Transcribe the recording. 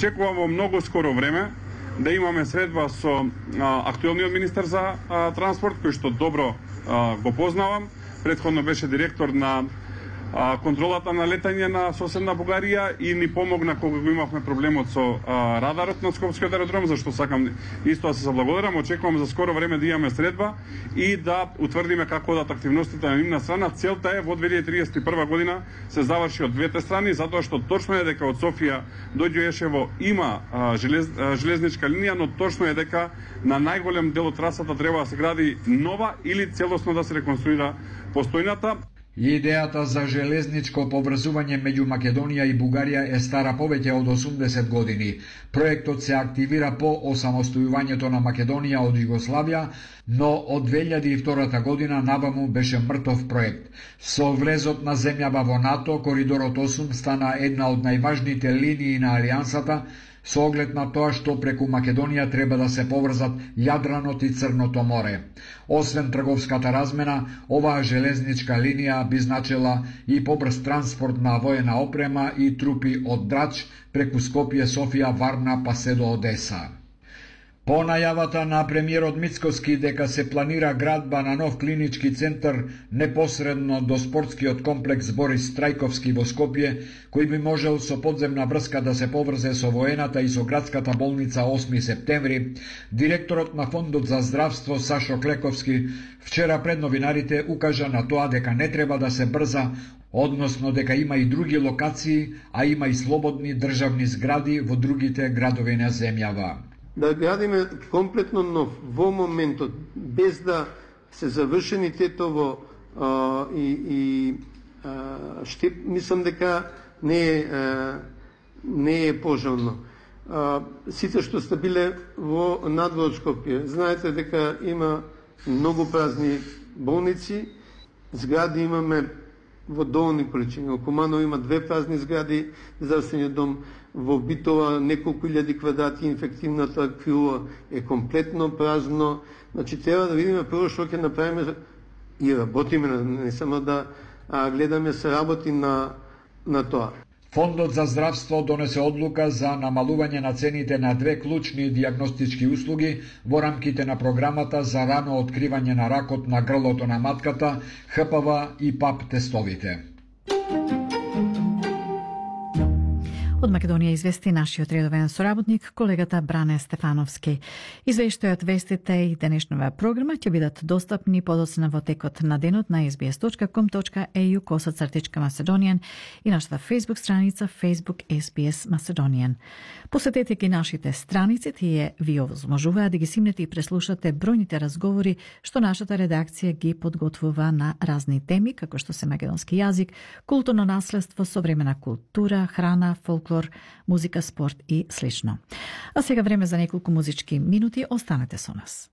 Очекувам во многу скоро време да имаме средба со актуелниот министер за транспорт, кој што добро го познавам. Претходно беше директор на контролата на летање на соседна Бугарија и ни помогна кога го имавме проблемот со радарот на Скопскиот аеродром, зашто сакам исто да се заблагодарам. Очекувам за скоро време да имаме средба и да утврдиме како одат активностите на нивна страна. Целта е во 2031 година се заврши од двете страни, затоа што точно е дека од Софија до Ѓоешево има железничка линија, но точно е дека на најголем дел од трасата треба да се гради нова или целосно да се реконструира постојната. Идејата за железничко поврзување меѓу Македонија и Бугарија е стара повеќе од 80 години. Проектот се активира по осамостојувањето на Македонија од Југославија, но од 2002 година наваму беше мртов проект. Со влезот на земјава во НАТО, Коридорот 8 стана една од најважните линии на Алијансата, со оглед на тоа што преку Македонија треба да се поврзат Јадранот и Црното море. Освен трговската размена, оваа железничка линија би значила и побрз транспорт на воена опрема и трупи од Драч преку Скопје, Софија, Варна па се до Одеса. По најавата на премиерот Мицкоски дека се планира градба на нов клинички центар непосредно до спортскиот комплекс Борис Трајковски во Скопје, кој би можел со подземна врска да се поврзе со воената и со градската болница 8 септември, директорот на Фондот за здравство Сашо Клековски вчера пред новинарите укажа на тоа дека не треба да се брза, односно дека има и други локации, а има и слободни државни згради во другите градови на земјава. Да градиме комплетно нов во моментот, без да се завршени тетово мислам дека не е пожелно. Сите што сте биле во надвор Скопје, знаете дека има многу празни болници, згради имаме во доволни количини. Во Куманово има 2 празни згради, здравствениот дом, во Битова неколку илјади квадрати, инфективната крила е комплетно празно. Значи треба да видиме прво што ќе направиме и работиме, не само да гледаме се работи на тоа. Фондот за здравство донесе одлука за намалување на цените на 2 клучни дијагностички услуги во рамките на програмата за рано откривање на ракот на грлото на матката, ХПВ и ПАП тестовите. Од Македонија извести нашиот редовен соработник, колегата Бране Стефановски. Извештајот, вестите и денешнава програма ќе бидат достапни подоцна во текот на денот на sbs.com.au/Macedonian и нашата Facebook страница Facebook SBS Macedonian. Посетете ги нашите страници, тие ви овозможуваат да ги симнете и преслушате бројните разговори што нашата редакција ги подготвува на разни теми, како што се македонски јазик, културно наследство, современа култура, храна, фолклор, музика, спорт и слично. А сега време за неколку музички минути, останете со нас.